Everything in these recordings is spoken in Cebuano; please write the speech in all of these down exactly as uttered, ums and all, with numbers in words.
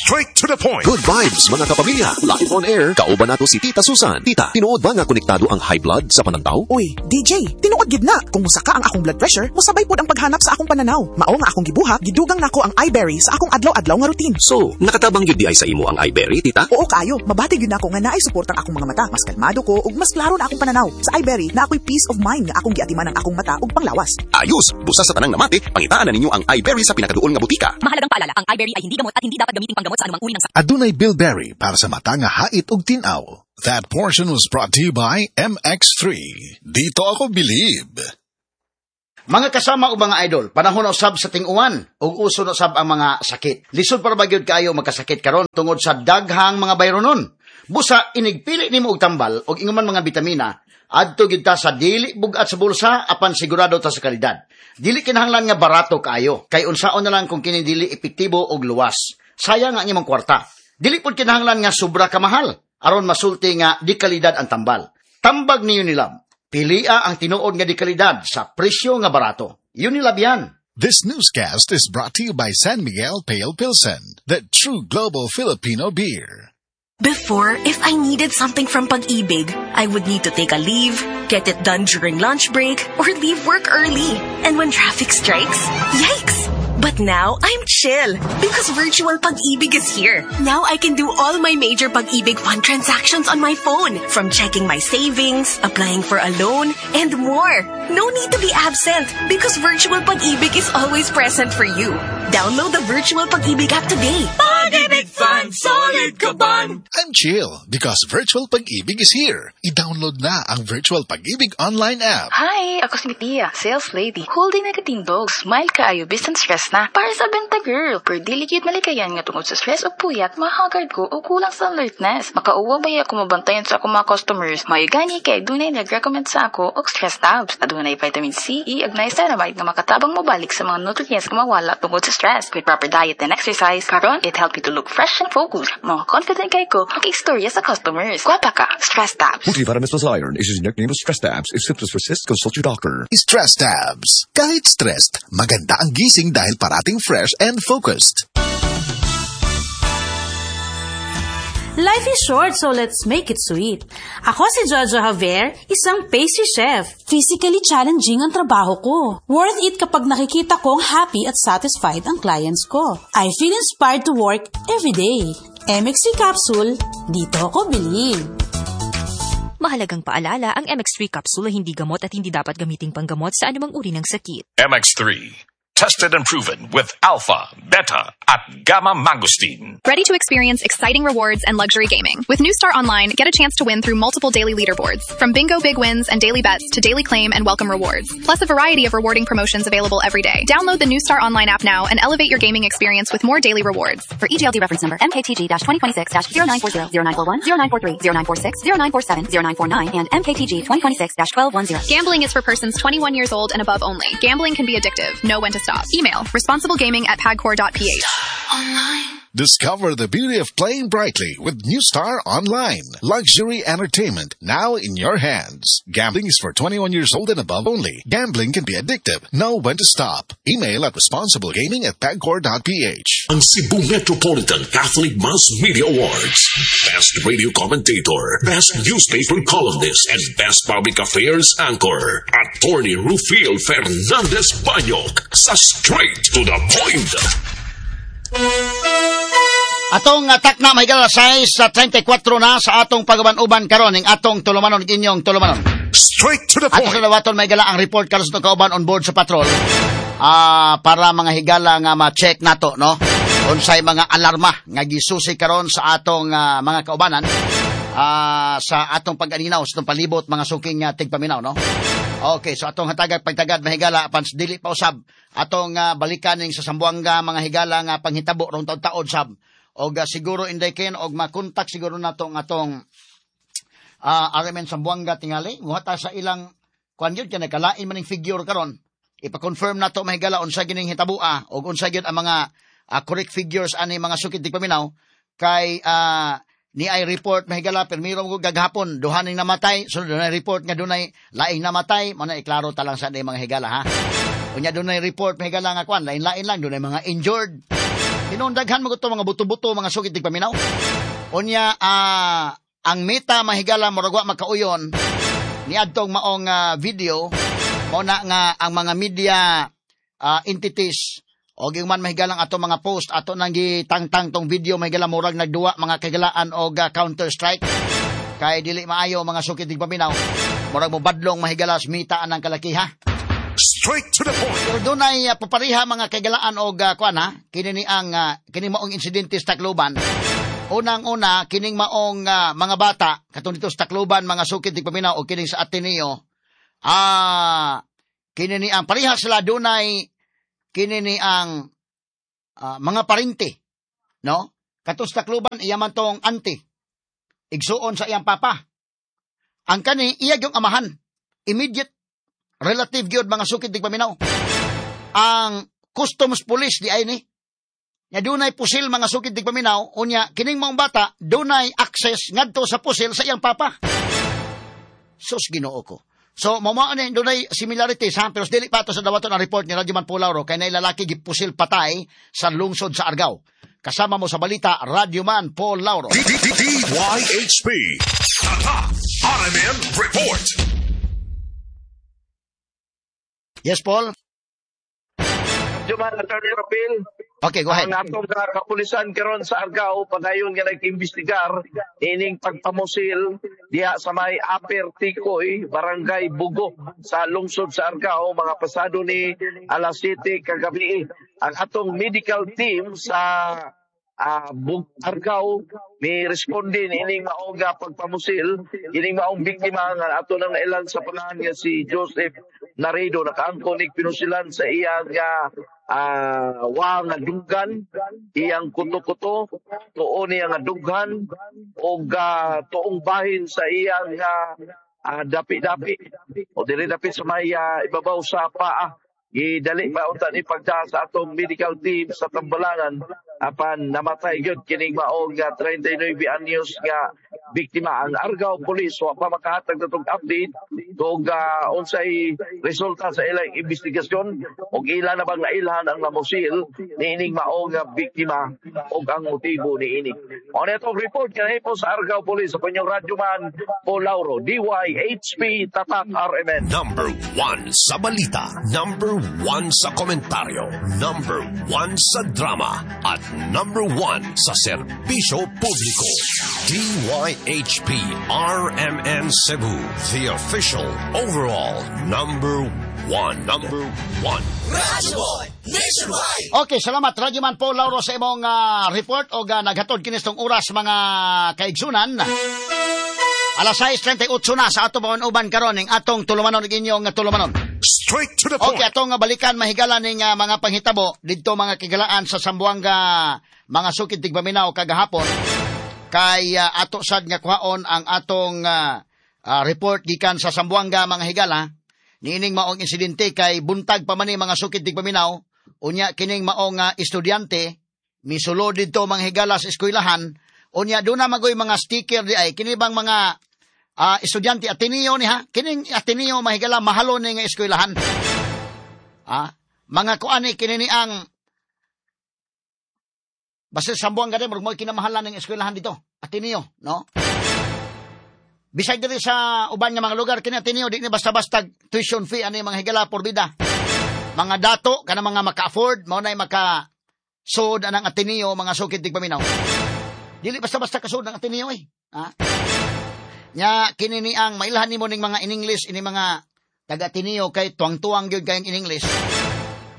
Straight to the point. Good vibes, mga kapamilya. Live on air, kauban nato si Tita Susan. Tita, tinuod ba nga konektado ang high blood sa panantaw? Uy, D J, tinuod gid na. Kung musaka ang akong blood pressure, musabay pod ang paghanap sa akong pananaw. Mao nga akong gibuhat, gidugang nako ang iBerry sa akong adlaw-adlaw nga routine. So, nakatabang gyud diay sa imo ang iBerry, Tita? Oo kaayo, mabati gyud nako nga naay suporta ang akong mga mata. Mas kalmado ko ug mas klaro na akong pananaw. Sa iBerry, naa ko'y peace of mind nga akong giatiman ang akong mata ug panglawas. Ayos! Busa sa tanang namati, pangitaan na ninyo ang iBerry sa pinakaduol nga butika. Mahalagang paalala, ang iBerry ay hindi gamot at hindi dapat gamitin panggamot sa anumang uri ng sakit. Adunay bilberry para sa mata nga hait ug tin-aw. That portion was brought to you by M X three. Dito ako believe. Mga kasama o mga idol, panahon na usab sa ting-uwan ug uso na usab ang mga sakit. Lisod para ba gyud kaayo magkasakit karon tungod sa daghang mga bayronon. Busa inigpili nimo og tambal og ingon man mga bitamina, adto gyud ta sa dili bug-at sa bulsa apan sigurado ta sa kalidad. Dili kinahanglan nga barato kaayo kay unsaon na lang kung kini dili epektibo og luwas. Sayang ang imong kwarta. Dili pud kinahanglan nga sobra ka mahal aron masulti nga di kalidad ang tambal. Tambag ni Unilab. Pilia ang tinuod nga di kalidad sa presyo nga barato. Unilab yan. This newscast is brought to you by San Miguel Pale Pilsen, the true global Filipino beer. Before, if I needed something from Pag-ibig, I would need to take a leave, get it done during lunch break, or leave work early. And when traffic strikes, yikes! But now, I'm chill because Virtual Pag-ibig is here. Now I can do all my major Pag-ibig fund transactions on my phone, from checking my savings, applying for a loan, and more. No need to be absent because Virtual Pag-ibig is always present for you. Download the Virtual Pag-ibig app today. Pag-ibig Fund, solid ka ban! I'm chill because Virtual Pag-ibig is here. I-download na ang Virtual Pag-ibig online app. Hi! Ako si Tia, sales lady. Whole day nagatindog. Smile kaayo, bisan stress na. Para sa benta girl. Pero dili gyud malikayan nga tungod sa stress o puyat, mahagard ko o kulang sa alertness. Makauwa ba ako mabantayan sa akong mga customers. Maayo gani kay dunay nag-recommend sa ako og Stress Tabs. Adunay vitamin C, E, ug niacinamide nga makatabang mobalik sa mga nutrients nga mawala tungod sa stress. With proper diet and exercise, karon it helped me to look fresh and focused. Mga confident kay ko, istorya sa customers. Gwapa ka, Stress Tabs. Multivitamins plus iron is generic name of Stress Tabs. If symptoms persist, consult your doctor. Stress Tabs. Kahit stressed, maganda ang gising dahil parating fresh and focused. Life is short, so let's make it sweet. Ako si Jojo Javier, isang pastry chef. Physically challenging ang trabaho ko. Worth it kapag nakikita kong happy at satisfied ang clients ko. I feel inspired to work every day. M X three Capsule, dito ako believe. Mahalagang paalala, ang M X three capsule ay hindi gamot at hindi dapat gamiting panggamot sa anumang uri ng sakit. M X three. Tested and proven with alpha, beta, at gamma mangosteen. Ready to experience exciting rewards and luxury gaming? With New Star Online, get a chance to win through multiple daily leaderboards. From bingo big wins and daily bets to daily claim and welcome rewards. Plus a variety of rewarding promotions available every day. Download the New Star Online app now and elevate your gaming experience with more daily rewards. For E G L D reference number M K T G twenty twenty-six zero nine four zero, zero nine four one, zero nine four three, zero nine four six, zero nine four seven, zero nine four nine, and M K T G twenty twenty-six twelve ten. Gambling is for persons twenty-one years old and above only. Gambling can be addictive. Know when to stop. Email responsiblegaming at pagcor dot P H. Discover the beauty of playing brightly with New Star Online. Luxury entertainment now in your hands. Gambling is for twenty-one years old and above only. Gambling can be addictive. Know when to stop. Email at responsiblegaming at pagcor dot P H. Ang Cebu Metropolitan Catholic Mass Media Awards. Best Radio Commentator, Best Newspaper Columnist, and Best Public Affairs Anchor. Attorney Rufil Fernandez Banyok sa Straight to the Point. Atong atak na may alas sais trenta y kwatro na sa atong pag-uban-uban karon ning atong tulumanon, inyong tulumanon. Straight to the Ato point. Sa dawaton may gala ang report karon sa kauban on board sa patrol. Ah, para mga higala nga ma-check nato, no, unsay mga alarma nga gisusi karon sa atong ah, mga kaubanan ah, sa atong pag-aninaw sa atong palibot, mga suking uh, tigpaminaw, no. Okay, so atong hatagag pagtagad, mahigala, apan dili pa usab atong ah, balikan ning sa Zamboanga, mga higala, nga panghitabo rong taud-taod sab. Og ah, siguro inday ken og makontak siguro nato ang atong uh, R M N Zamboanga tingali muhata sa ilang kuan yun kay nagkalain man ning figure karon. Ipa-confirm nato, mahigala, unsa gining hitabua og unsa gyud ang mga ah, correct figures ani, mga suking tigpaminaw, kay ah, ni ay report, mahigala, pirmiro mo gaghapon duha ning namatay, sunod dunay report nga dunay laing namatay. Mo na iklaro ta lang sa mga higala, ha. Unya dunay report, mahigala, nga kuan lain-lain lang, dunay mga injured. Tinuod daghan mo mga buto-buto mga sukit tigpaminaw. Unya uh, ang Meta mahigala murag wa makauyon niadtong maong uh, video mao na nga ang mga media uh, entities o man mahigalang ato mga post ato nang gitangtang tong video mahigala murag nagduwa mga kaigalaan og uh, Counter Strike kay dili maayo mga sukit tigpaminaw murag mo badlong mahigala sa Meta anang kalakiha. Straight to the point. Pero dunay uh, papariha mga kaigalaan og uh, kuan ha kini ni ang uh, kini maong insidente sa Tacloban. Unang-una kining maong uh, mga bata katong dito sa Tacloban mga sukit tigpaminaw og kining sa Ateneo. Ah, kini ni ang pareha sila dunay kini ni ang uh, mga parente, no? Katong sa Tacloban iya man tong auntie. Igsuon sa iyang papa. Ang kani iya gyud amahan. Immediate relative gyud mga sukit tigpaminaw. Ang customs police di ay ni. Nya dunay pusil mga sukit tigpaminaw, unya kining maong bata dunay access ngadto sa pusil sa iyang papa. Sus Ginoo ko. So mao ni dunay similarities ha, pero dili pa to sa dawaton ang report ni Radyo Man Paul Lauro kay nay lalaki gipusil patay sa lungsod sa Argao. Kasama mo sa balita Radyo Man Paul Lauro. D Y H P Tatak R M N Report. Yes, Paul. Radyo Man Attorney Rapil. Okay, go ahead. Ang atong kapulisan karon sa Argao padayon nga nag-imbestigar ining pagpamusil diha sa may Upper Tikoy, Barangay Bugo sa lungsod sa Argao mga pasado ni alas siyete kagabi. Ang atong medical team sa uh, Argao mi responde ining maong pagpamusil ining maong biktima nga ato nang nailan sa pangalan nga si Joseph Naredo nakaangkon nig pinusilan sa iyang uh, uh, wa nga dughan, iyang kuto-kuto, tuon niya nga dughan og uh, tuong bahin sa iyang uh, uh, dapi-dapi o diri dapit sa may uh, ibabaw sa paa. Gidali pa unta ni pagda sa atong medical team sa Tambalangan apan namatay gyud kining maong uh, treinta y nueve anyos nga biktima. Ang Argao Police wa pa makahatag natong update tug uh, unsay resulta sa ilang investigasyon og ila na bang nailhan ang namusil niining maong uh, biktima og ang motibo niini. Mao na itong report kanhi po sa Argao Police sa inyong Radyo Man Paul Lauro, D Y H P Tatak R M N. Number one sa balita, number one sa komentaryo, number one sa drama, at number one sa serbisyo publiko. D Y H P R M N Cebu, the official overall number one. Number one. Radyo Boy Nationwide. Okay, salamat Radyo Man Paul Lauro sa imong uh, report og uh, naghatod kini tong oras mga kaigsunan. Alas sais treinta y ocho na sa ato uban karon ning atong tulumanon ug inyong tulumanon. Straight to the point. Okay, atong balikan mahigala ning uh, mga panghitabo didto mga kigalaan sa Zamboanga, mga sukid tigpaminaw kagahapon kay uh, ato sad nga kuhaon ang atong uh, uh, report gikan sa Zamboanga mga higala niining maong insidente kay buntag pa man ni mga sukid tigpaminaw unya kining maong uh, estudyante misulod didto mga higala sa eskwelahan. Unya doon na magoy mga sticker di ay kini bang mga uh, estudyante Ateneo ni ha kining Ateneo mahigala mahalo ni nga eskwelahan. Ah, mga kuan ni kini ni ang basta Zamboanga gani murag mo kinamahalan ng eskwelahan dito Ateneo, no? Bisag diri sa uban nga mga lugar kini Ateneo di ni basta-basta tuition fee ani mga higala por vida. Mga dato kana mga maka-afford mao nay maka sud anang Ateneo mga sukid tigpaminaw. Dili basta-basta kasud ang Ateneo eh. Ha? Nya kini ni ang mailhan nimo ning mga in English ini mga taga Ateneo kay tuwang-tuwang gyud kayong in English.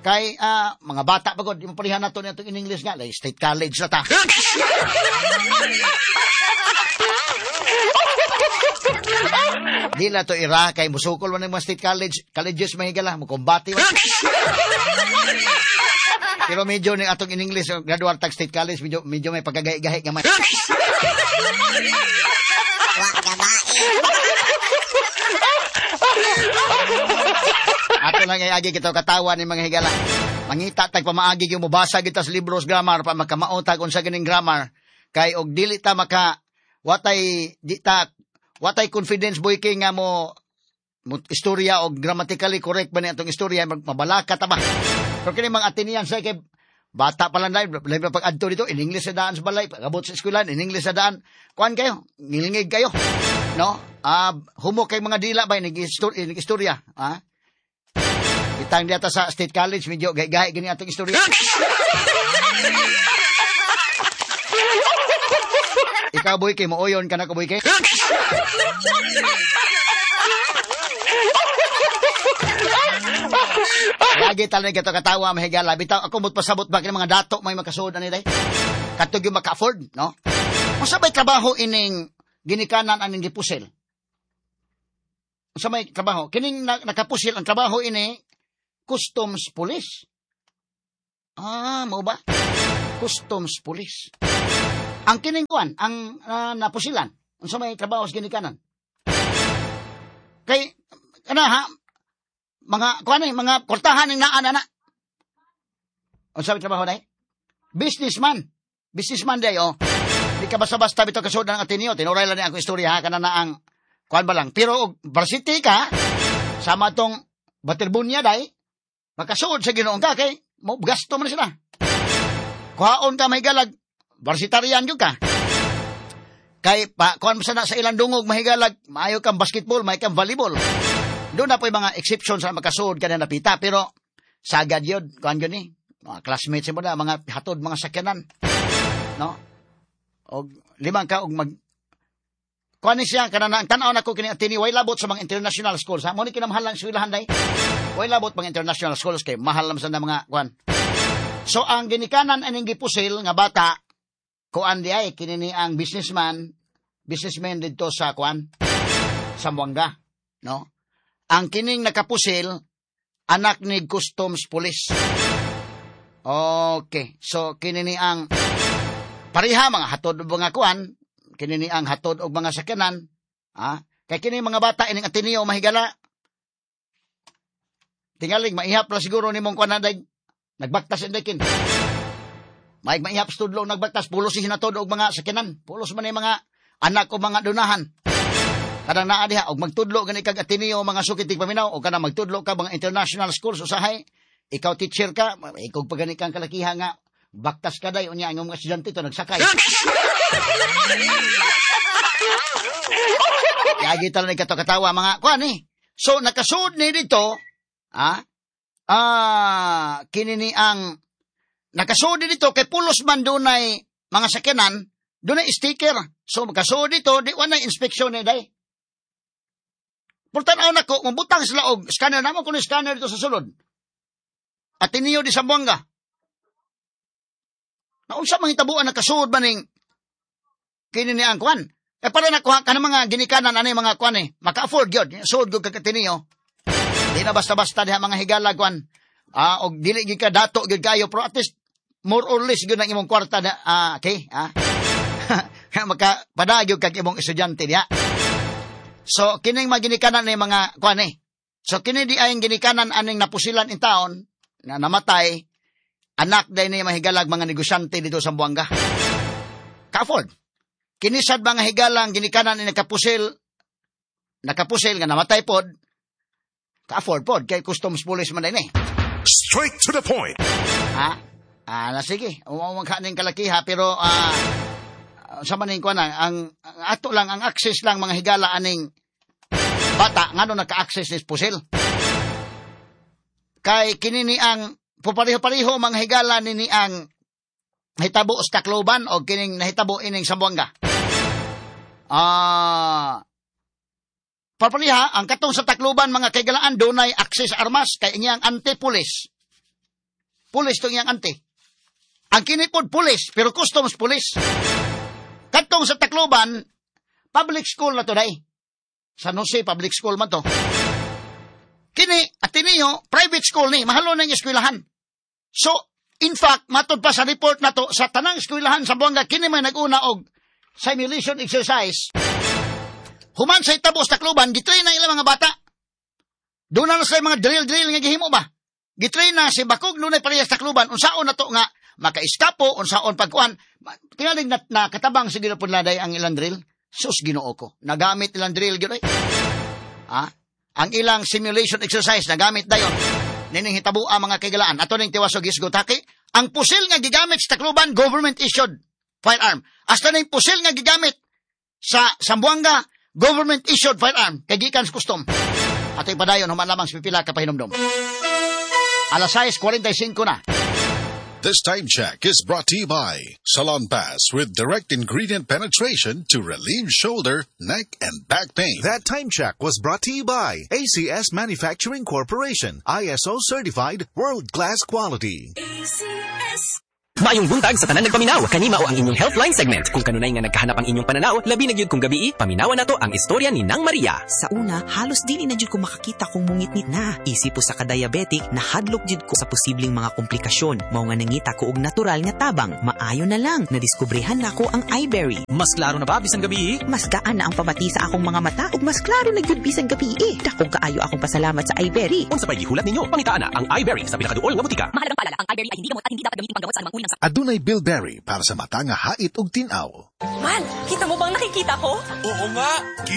Kay uh, mga bata pa gud, di mo parihan nato ni atong in English nga, like state college na ta. Di la to ira kay musukol man ng mga state college, colleges mahigala mo kumbati. Pero medyo ni atong in English graduate tag state college medyo medyo may pagkagahi-gahi gamay. Ato lang ay agi kita katawa ni mga higala. Mangita tag pamaagi yung mobasa kita sa libros grammar pa makamao tag unsa ganing grammar kay og dili ta maka watay di ta watay confidence boy king nga mo, mo istorya og grammatically correct ba ni atong istorya mabalaka ta ba. Pero kini mga Atenean sa kay Bata pa lang dahil, labi pa pag-adto dito, in English sa daan sa balay, pag-abot sa eskwelahan, in English sa daan. Kuan kayo, ngilingig kayo. No? Ah, humo kay mga dila ba, inig-istorya. Ah? Itang diyata sa State College, medyo gay-gay gini atong istorya. Ikaw, boy, kay mooyon ka na ko, boy, kay. Lagi talaga ito katawa, mahigala. Bitaw, ako mo't pasabot ba kini mga dato may makasuod ani day? Katog yung maka-afford, no? Unsa may trabaho ining ginikanan aning gipusil? Unsa may trabaho? Kining nakapusil ang trabaho ini customs police. Ah, mao ba? Customs police. Ang kining kuan, ang uh, napusilan, unsa may trabaho sa ginikanan? Kay kana ha, mga kuan eh, mga kortahan ning naa na. Unsa may trabaho day? Businessman. Businessman day oh. Di ka basta-basta bitaw kasuod ng Ateneo, tinuray lang ni ako istorya ha, kana na ang kuan ba lang. Pero og varsity ka sama tong Baterbunya day, makasuod sa Ginoong ka kay mo gasto man sila. Kuhaon ka mahigalag, varsitarian gyud ka. Kay pa kuan mo sana sa ilang dungog mahigalag, maayo kang basketball, maayo kang volleyball. Doon na po yung mga exception sa makasuod ka na napita, pero sagad yun, kuan yun eh. Mga classmates mo na, mga hatod, mga sakyanan. No? Og limang ka, og mag... Kuan ni siya, kanana, ang tanaw na ko kini Ateneo, way labot sa mga international schools. Ha? Mo ni kinamahal ang eskwelahan day. Way labot mga international schools kay mahal naman sa mga kuan. So, ang ginikanan aning gipusil nga bata, kuan di ay, kini ni ang businessman, businessman dito sa kuan, sa Zamboanga, no? Ang kining nakapusil, anak ni Customs Police. Okay. So, kini ni ang pareha, mga hatod og mga kuan, kini ni ang hatod og mga sakyanan. Ah, kay kini mga bata ining Ateneo mahigala. Tingaling maihap la siguro nimong kuan na day, nagbaktas inday kin. Maig maihap studlo nagbaktas, pulos si hinatod og mga sakyanan. Pulos man ni mga anak o mga dunahan. Kanang naa diha og magtudlo gani kag Ateneo mga sukit tigpaminaw o kanang magtudlo ka mga international schools usahay ikaw teacher ka ikog pa gani kang kalakiha nga baktas ka day unya ang mga estudyante to nagsakay. Yagi tal ni kato katawa mga kuan eh. So nakasud ni dito ah ah kini ni ang nakasud ni dito kay pulos man dunay mga sakyanan, dunay sticker. So makasud dito di wa na inspection ni day. Pultan-aw na ko, mabutang sila og scanner namo kuno scanner dito sa sulod. Ateneo di Zamboanga. Naunsa man hitabuan nakasuod ba ning kini ni ang kuan? Eh para nakuha ka ng mga ginikanan ani mga kuan eh, maka-afford gyud, suod gyud kag Ateneo. Di na basta-basta diha mga higala kuan. Ah, og dili gyud ka dato gyud kayo pero at least more or less gyud ang imong kwarta na, ah, okay, ah. Maka padagyog kag imong estudyante diha. So, kining maginikanan ni mga kuan eh. So, kini di ay ginikanan aning napusilan in taon na namatay, anak day ni mahigalag mga negosyante dito sa Zamboanga. Ka-afford. Kini sad mga higalang ginikanan ni nakapusil, nakapusil nga namatay pod, ka-afford pod, kay customs police man din eh. Straight to the point. Ha? Ah, na sige. Umawang ka ning kalakiha, pero ah, sa maning kuan ang, ang ato lang ang access lang mga higala aning bata ngano naka-access ni pusil. Kay kini ni ang pareho-pareho mga higala nini ang nahitabo sa Tacloban o kining nahitabo ining Zamboanga. Ah, parpareha ang katong sa Tacloban mga kaigalaan dunay access armas kay iyang anti-police. Police tong iyang anti. Ang kini pod police pero customs police. Katong sa Tacloban, public school na to day. San Jose public school man to. Kini, Ateneo, private school ni, mahalo na yung eskwelahan. So, in fact, matod pa sa report na to, sa tanang eskwelahan sa Zamboanga, kini may nag-una og simulation exercise. Human sa itabo sa Tacloban, gitrain na ilang mga bata. Doon na sila mga drill-drill nga gihimo ba? Gitrain na si Bakog nunay parehas Tacloban, unsaon na to nga makaiskapo, unsaon pagkuan. Tingaling na, na katabang sa Ginoo laday ang ilang drill. Sus, Ginoo ko. Nagamit ilang drill gyud ay. Ah, ang ilang simulation exercise nagamit dayon. Nining hitabua mga kaigalaan. Ato ning tiwasog isgo taki Ang pusil nga gigamit sa Tacloban, government issued firearm. Hasta na yung pusil nga gigamit sa Zamboanga, government issued firearm kay gikan sa custom. Ato ipadayon human lamang sa pipila ka pahinumdom. Alas sais kwarenta y singko na. This time check is brought to you by Salonpas with direct ingredient penetration to relieve shoulder, neck, and back pain. That time check was brought to you by A C S Manufacturing Corporation, I S O certified world-class quality. A C S. Maayong buntag sa tanan nagpaminaw. Kani mao ang inyong Healthline segment. Kung kanunay nga nagkahanap ang inyong pananaw, labi na gyud kung gabii, paminawan nato ang istorya ni Nang Maria. Sa una, halos dili na jud ko makakita kung mungitngit na. Isip usa ka diabetic, nahadlok jud ko sa posibleng mga komplikasyon. Mao nga nangita ko og natural nga tabang. Maayo na lang, nadiskubrehan nako ang iBerry. Mas klaro na ba bisan gabii? Mas gaan na ang pamati sa akong mga mata ug mas klaro na gyud bisan gabii. Dakong kaayo akong pasalamat sa iBerry. Unsa pa'y gihulat ninyo? Pangitaa na ang iBerry sa pinakaduol nga botika. Mahalagang paalala, ang iBerry ay hindi gamot at hindi dapat gamitin panggamot sa anumang uri ng sakit. Adunay bilberry para sa mata nga hait ug tin-aw. Mal, kita mo bang nakikita ko? Oo nga, kita